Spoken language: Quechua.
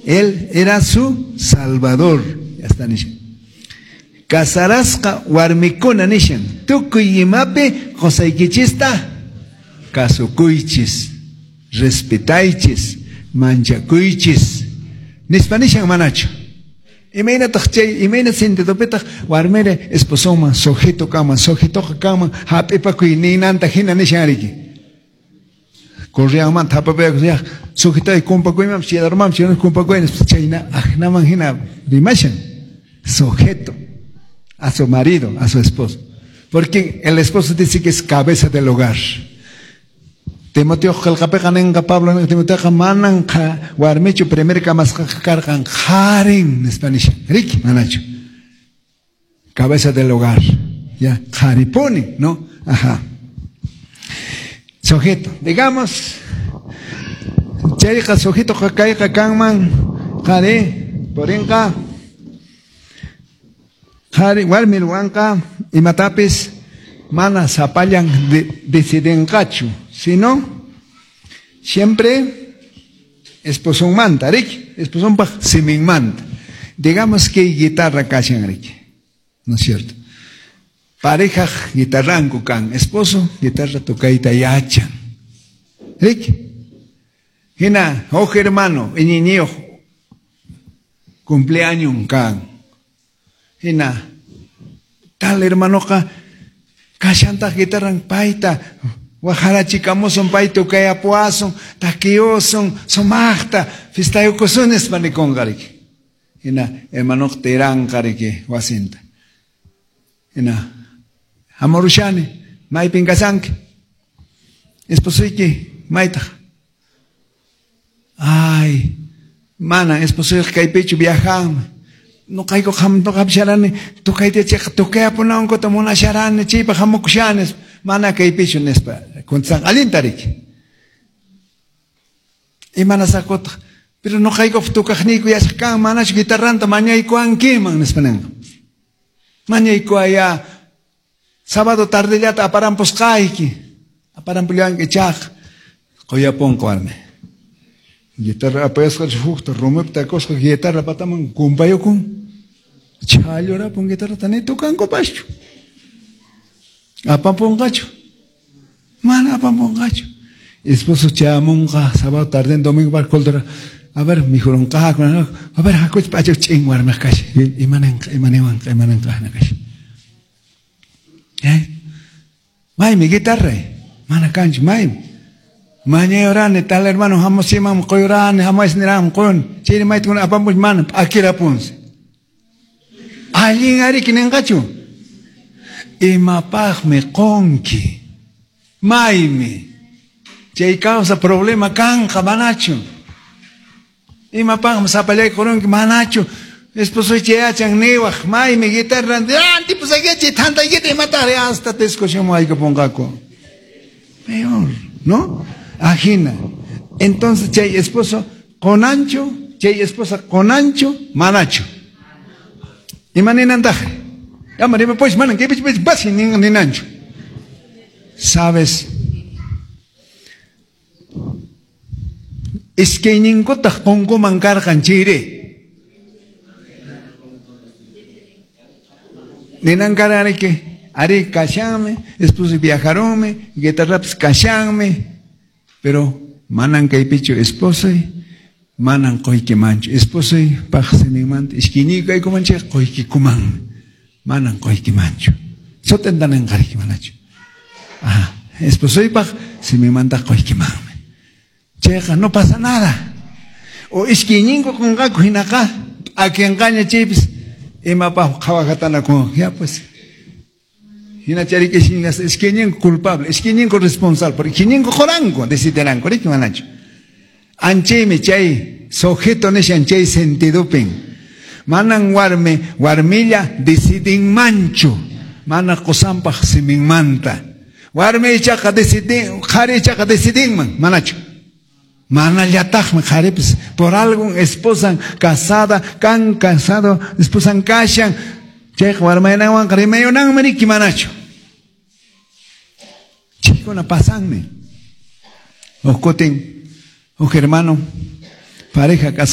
Él era su salvador. Ya está nishan. Casarasqa warmikuna nishan. Tukuy imapi qosaykichista kasukuychis, respetaychis, manchakuychis. Nispa nishan manachu. Imaynataq chay, imayna sentidopitaq warmiri esposoman sujeto kanman, sujetoqa kanman hap'ipakuy ninanta hina nishan riki. Correanmanta hapapayakus sujetay kumpakuymanpis chayarmanpis chayarmanpis kumpakuy nispa chayna aqnaman hina rimashan. Sujeto a su marido, a su esposo. Porque el esposo dice que es cabeza del hogar. Timoteo qillqapiqa ninqa Pablo ninqa Timoteoqa manan warmichu primer kamasqaqa karqan qharin nispa nishan. Riki, manachu. Cabeza del hogar. Ya, qharipuni, ¿no? Ajá. Sujeto. Digamos, chayqa sujeto kayqa kanman qhari, purinqa qhari warmi ruwanqa imatapis mana sapallan decidinqachu, sino siempre esposonmanta, riki, esposonpaq siminmanta. Digamos que guitarra kashan, riki, ¿no es cierto? Pareja guitarranku kan, esposo guitarra tocayta yachan. Riki. Hina, huk hermano, iñiñiyuq cumpleaños kan. Hina, tal hermanoqa kashantaq guitarran payta waqharachikamusun pay tukayapuwasun takiyusun sumaqta fistayukusun nispa nikunqa riki. Hina hermanoqa tiranqa riki wasinta. Hina hamurushani maypin kashanki esposuyki maytaq. Ay, mana esposuyqa kaypichu viajanman. Noqayku qamsharani tukayta chayqa tukayapunankuta munasharani chaypaq hamukushani mana kaypichu nispa contestan allinta riki. Imanasaqkutaq pero noqaykup tukaqniyku yachaq kan manachu guitarranta mañaykuwankiman nispa ninqa. Mañaykuwaya sábado tardellata aparampusqayki aparampullawanki ichaqa quyapunqa warmi. Guitarra apayasqa hukta rumipi takusqa guitarra pataman kumpayukun. Chhallurapun guitarrata ni tukankupaschu. Apampunqachu. Mana apampunqachu. Esposo chayamunqa sábado tarde domingo bar coltora. A ver, mikhurunqaku. A ver, hakuch p'acha ch'in warmiq kashan. Imananqa, imaniwanqa, imananqa kash. ¿Eh? Maymi guitarra. Mana kanchu, maymi. Mañayurani, tal hermano hamusimam quyurani, hamuysniram quyun. Chayri maytukuna apampuch mana p'akirapunsi. Allin ariki ninqachu. Imapaqmi qunki. Maymi. Chay causa problema kanqa manachu. Imapaqmi sapallayki qurunki manachu. Esposo chayachan niwaq maymi guitarra antipusakichi thantaykita imataqri hasta discusión aykapunqaku. Peor, ¿no? Ajina. Entonces chay esposo qonanchu, chay esposa qonanchu, manachu. Imaninantaq? Ama rimapush manan kaypich basi ninanchu. Sabes? Iskayninkutaq qunkuman karqan chayri. Ninan karariki, ari kashanmi, esposo viajaronmi, guitarrapis kashanmi, pero manan kaypichu esposoy, manan quykimanchu. Esposoy paq siminmanta iskayniyku kaykuman chayqa quykikumanmi. Manan quykimanchu. Sut'inta ninqariki manachu. Ajá. Esposoypaq siminmanta quykimanmi. Chayqa no pasa nada. O iskayninku qunqaku hinaqa p'akinqaña chaypis imapaq qhawaqatanakun. Ya pues. Hina chariki iskayninku culpable, iskayninku responsable, porque iskayninku quranku, decidiranku, riki manachu. Anchaymi chay sujeto nishan chay sentidupin. Manan warmi, warmilla decidinmanchu. Mana qusanpaq siminmanta. Warmi ichaqa decidin, qhari ichaqa decidinman, manachu. Manallataqmi qharipis por algún esposan casada, kan casado, esposan kashan, chayqa warmaynawanqa rimayunanmi riki manachu. Chaykuna pasanmi. Huk kutin, huk hermano, pareja casada.